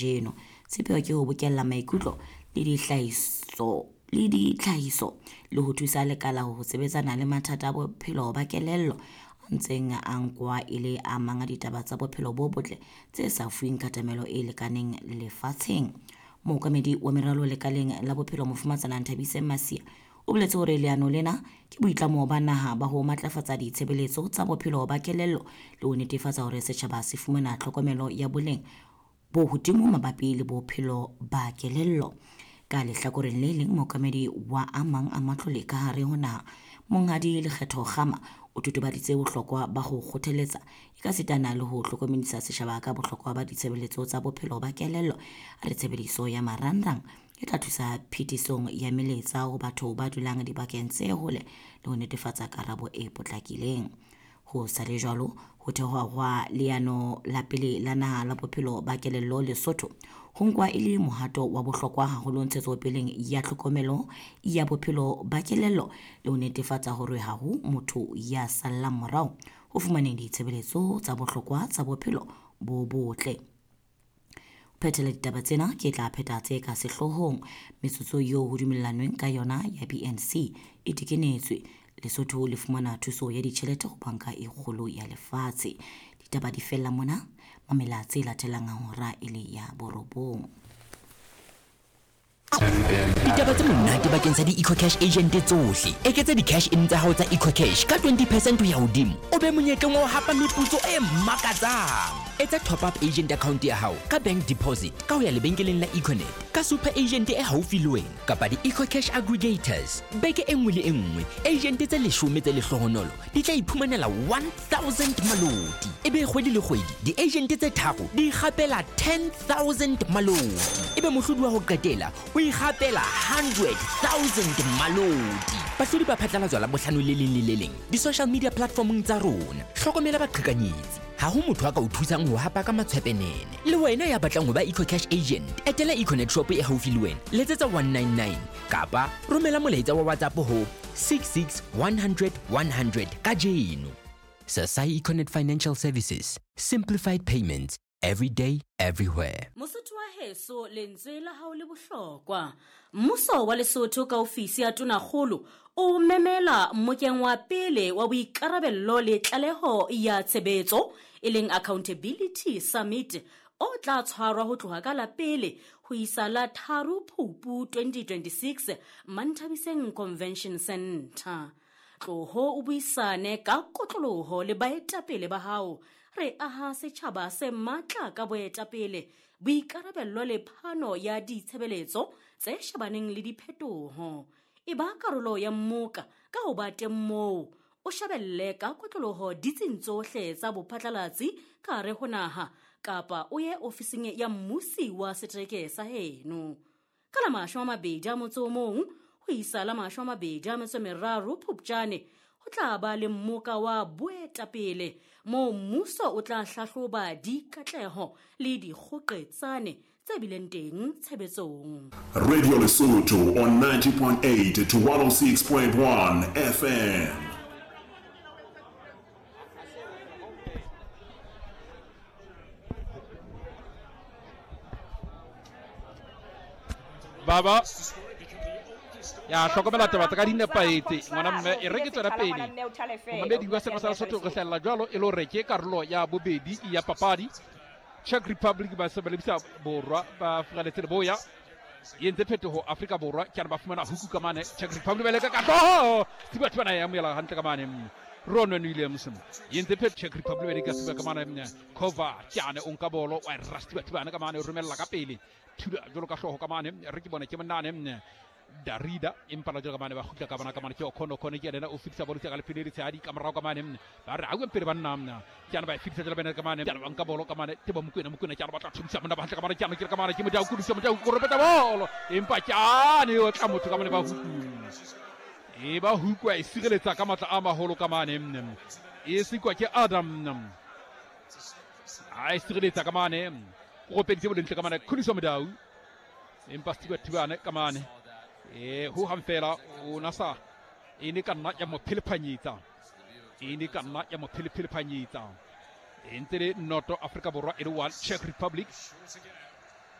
Kajeno sepheo ke ho bokella maikutlo le dihlahiso le ditlhahiso le ho thusa lekala ho sebetsana le mathata a bophelo ba kelello a ntseng a nkwa e le a mang a ditaba tsa bophelo bo botle tse sa fuweng katamelo e lekaneng lefatsheng. Mookamedi wa meralo lekaleng la bophelo Mofumatsana Nthabiseng Masia o boletse hore leano lena ke boitlamo ba naha ba ho matlafatsa ditshebeletso tsa bophelo ba kelello le ho netefatsa hore setjhaba se fumana tlhokomelo ya boleng bo hodimo mabapi le bophelo ba kelello. Ka lehlakoreng le leng, mookamedi wa a mang a matlole ka hare ho naha, Monghadi Lekgetho Kgama, o totobaditse bohlokwa ba ho kgothaletsa ekasitana le ho hlokomedisa setjhaba ka bohlokwa ba ditshebeletso tsa bophelo ba kelello. A re tshebediso ya marangrang e tla thusa phetisong ya melaetsa ho batho ba dulang dibakeng tse hole le ho netefatsa karabo e potlakileng. Ho sa le jwalo, ho thehwa hwa leano la pele la naha la bophelo ba kelello Lesotho ho nkwa e le mohato wa bohlokwa haholo ntshetsopeleng ya tlhokomelo ya bophelo ba kelello le ho netefatsa hore ha ho motho ya sallang morao ho fumaneng ditshebeletso tsa bohlokwa tsa bophelo bo botle. Phethela ditaba tsena ke tla pheta tse ka sehloohong. Metsotso eo ho dumellanweng ka yona ya BNC e tekenetswe. Lesotho le fumana thuso ya ditjhelete ho banka e kgolo ya lefatshe. Ditaba di fella mona, mamela tse latelang hora e le ya borobong. Ditaba tse monate bakeng sa di-EcoCash agent tsohle. Eketsa di-cash in tsa hao tsa EcoCash ka 20 percent ho ya hodimo, o be monyetleng wa ho hapa meputso e makatsang. Etsa top up agent account ya hao ka bank deposit ka ho ya lebenkeleng la Econet, ka super agent e haufi le wena kapa di-EcoCash aggregators. Beke e nngwe le e nngwe, agent tse leshome tse lehlohonolo di tla iphumanela 1000 maloti. Ebe kgwedi le kgwedi di-agent tse tharo di ikgapela 10,000 maloti. Ebe mohlodi wa ho qetela o ikgapela 100,000 maloti. Bahlodi ba phatlalatswa la bohlano le leng le le leng di-social media platformong tsa rona. Hlokomela baqhekanyetsi. Ha ho motho a ka o thusang ho hapa ka matshwepenene. Le wena ya batlang ho ba EcoCash agent, etela Econet shop e haufi le wena, letsetsa 199 kapa romela molaetsa wa WhatsApp ho 66 100 100 kajeno. Sasai Econet Financial Services, simplified payments every day, everywhere. Mosotho wa heso, lentswe la hao le bohlokwa. Mmuso wa Lesotho ka ofisi ya Tonakgolo o memela mmokeng wa pele wa boikarabello le tlaleho ya tshebetso e leng Accountability Summit o tla tshwarwa ho tloha ka la pele ho isa la 3 Phupu 2026 Manthabiseng Convention Center. Tloho o buisane ka kotloloho le baetapele ba hao. Re aha setjhaba se matla ka boetapele, boikarabello le phano ya ditshebeletso tse shebaneng le diphetoho. E ba karolo ya mmoka ka ho ba teng moo, o shebelle ka kotloloho ditsing tsohle tsa bophatlalatsi ka hare ho naha kapa o ye ofising ya mmusi wa setereke sa heno. Ka la 21 ho isa la 23 Phupjane ho tla ba le mmoka wa boetapele moo mmuso o tla hlahloba dikatleho le dikgoqetsane tse bileng teng tshebetsong. Radio Lesotho on 90.8 to 106.1 FM. Baba ya hlokomela taba tsa ka di nepahetse ngwana mme e re ke tswela pele momamedi wa seno sa Lesotho re hlahella jwalo e le hore ke karolo ya bobedi ya papadi. Czech Republic ba se ba lebisa borwa ba Afrika Leboya e entse phetoho Afrika Borwa ke ba fumana huku ka mane. Czech Republic ba leka ka hlooho Stewart bana ya amohela hantle ka mane. Ronwen Williams e entse phetoho Czech Republic ba leka Stewart ka mane. Kova ke ane o nka bolo wa ra Stewart bana ka mane o romella ka pele thula jwalo ka hlooho ka mane re ke bone ke monane Darida empa la jwalo ka mane ba kgutla ka bona ka mane ke Okono Okono ke yena o fetisa bolo ka lefele le tshehadi ka morao ka mane ba re auwe pele banna mna ke ana ba e fetisa jwalo bene ka mane ke ana ba nka bolo ka mane Tebo Mokoena Mokoena ke ana ba tla thomisa monna ba hantle ka mane ke ana ke ka mane ke Modau Kudisa Modau o ropeta bolo empa ke ane o tla motho ka mane ba huku e ba huku a e sireletsa ka matla a maholo ka mane e sikwa ke Adam a e sireletsa ka mane o ropeditse bolentle ka mane Khuliso Modau empa Stewart Thibane ka mane e ho hang fela o na sa e ne ka nna ya mo phelephanyetsa e ne ka nna ya mo phelephanyetsa e ntse le noto Afrika Borwa e le 1 Czech Republic